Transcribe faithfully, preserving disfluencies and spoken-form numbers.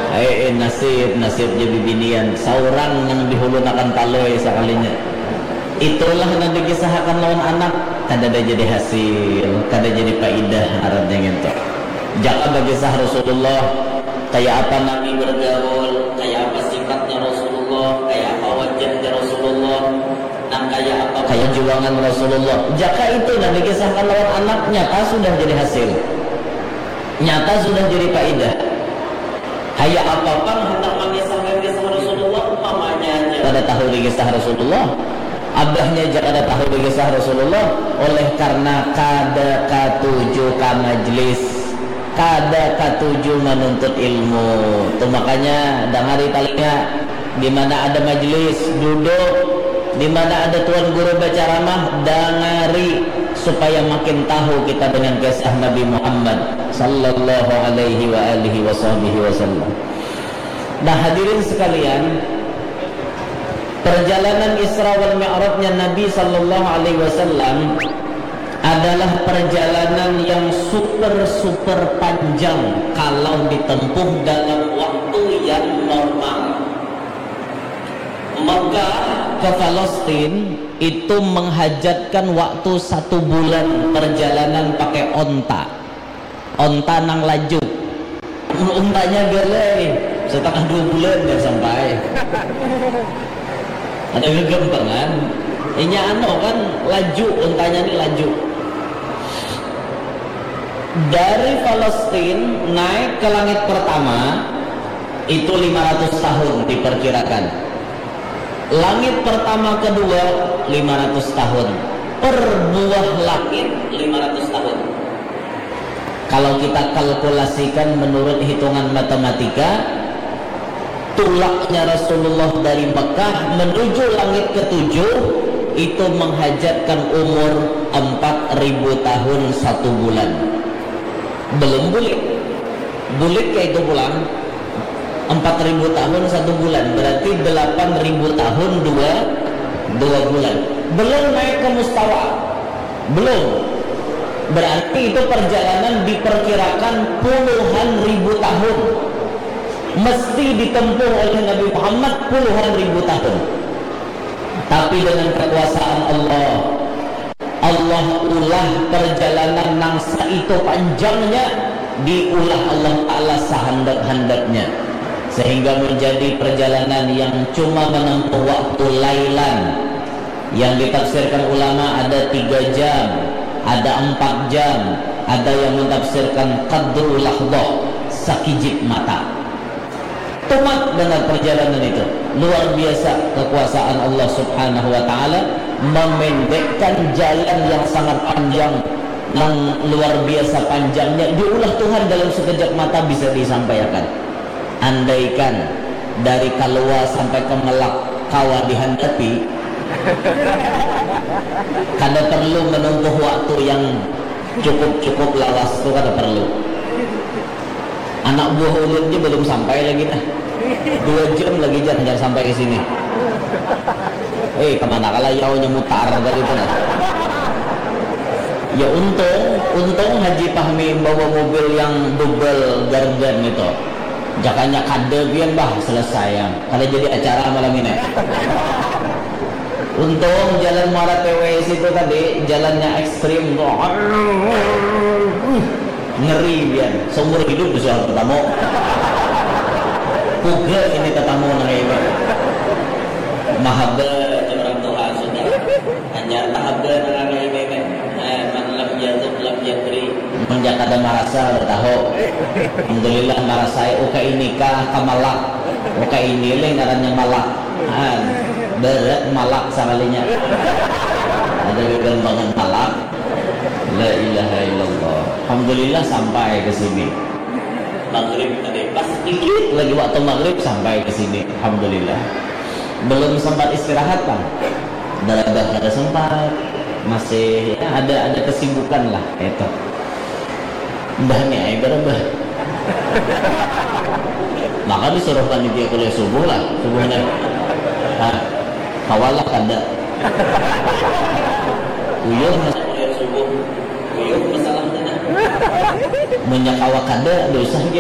Eh, eh, nasib, nasib jadi binian. Saurang nang dihulunakan palui sakalinya. Itulah nang dikisahakan lawan anak. Kada ada jadi hasil, kada jadi paidah ngarannya ngintu. Jaka bakisah Rasulullah, kaya apa Nabi bergaul, kaya apa sifatnya Rasulullah, kaya apa wajahnya Rasulullah, nang kaya apa kaya juangan Rasulullah. Jaka itu nang dikisahkan lawan anak, nyata sudah jadi hasil. Nyata sudah jadi paidah. Kaya apa pang handak mangisahkan kisah Rasulullah, umpamanya aja. Kada tahu di kisah Rasulullah. Abahnya aja kada tahu di kisah Rasulullah, oleh karena kada katuju ka majlis, kada katuju manuntut ilmu. Tu makanya dangari talinga, di mana ada majlis, duduk, di mana ada tuan guru bacaramah, dangari, supaya makin tahu kita dengan kisah Nabi Muhammad sallallahu alaihi wa alihi wa sahbihi wasallam. Nah, hadirin sekalian, perjalanan Isra wal Mi'rajnya Nabi sallallahu alaihi wasallam adalah perjalanan yang super, super panjang kalau ditempuh dalam waktu yang normal. Mekah ke Palestin itu menghajatkan waktu satu bulan perjalanan pakai onta. Onta nang laju. Mun untanya galai, setengah dua bulan dah sampai. Ada gegampangan. Inya anu kan laju, untanya ni laju. Dari Palestin naik ke langit pertama itu lima ratus tahun diperkirakan. Langit pertama kedua lima ratus tahun. Per buah langit lima ratus tahun. Kalau kita kalkulasikan menurut hitungan matematika, tulaknya Rasulullah dari Mekah menuju langit ketujuh itu menghajatkan umur empat ribu tahun satu bulan. Belum bulik. Bulik ke itu pulang empat ribu tahun satu bulan, berarti delapan ribu tahun dua, dua bulan. Belum naik ke mustawa. Belum. Berarti itu perjalanan diperkirakan puluhan ribu tahun. Mesti ditempuh oleh Nabi Muhammad puluhan ribu tahun. Tapi dengan kekuasaan Allah, Allah ulah perjalanan nang saitu panjangnya, diulah Allah Ta'ala sahandak-handaknya. Sehingga menjadi perjalanan yang cuma menempuh waktu lailan. Yang ditafsirkan ulama ada tiga jam, ada empat jam, ada yang mentafsirkan qadru lahdoh, sakijip mata. Tumat banar perjalanan itu. Luar biasa kekuasaan Allah Subhanahu wa Ta'ala memendekkan jalan yang sangat panjang, yang luar biasa panjangnya, diulah Tuhan dalam sekejap mata bisa disampaikan. Andaikan dari Kalua sampai ke Melak kawa dihandapi, kada perlu menempuh waktu yang cukup-cukup lawas tu, kada perlu. Anak buah ulun je belum sampai lagi nah. Dua jam lagi jar, jar sampai ke sini. Eh, kemana kalah yau nyemutar tadi tu nah. Ya untung, untung Haji Pahmi bawa mobil yang double garden itu. Jakanya kada pian bah, selesai ya. Kada jadi acara malam ini. Untung jalan Muara T W situ tadi, jalannya ekstrim tuh. Ngeri pian, seumur hidup bisa ketemu. Puga ini tetamu nang ini. Mahaba aja orang tua sudah. Hanya tahaba nang ini kan. Eh, man lam yaduk lam yadri. Mun kada marasa, kada tahu. Alhamdulillah marasa, uka ini kah kamalak. Uka ini leh ngarannya malak. Ah, berat malak sakalinya. Ada gegampangan malak. La ilaha illallah. Alhamdulillah sampai ke sini. Maghrib tadi pas dikit lagi waktu maghrib sampai ke sini. Alhamdulillah. Belum sempat istirahat, Bang. Darabah kada sempat. Masih ya, ada ada kesibukan lah itu. Mbah ni ai darabah. Maka disuruh panitia kuliah subuh lah, subuhnya. Nah, kawalah kada. Uyuh masa kuliah subuh. Uyuh masalah kada. Munnya kawa kada, dosa gin.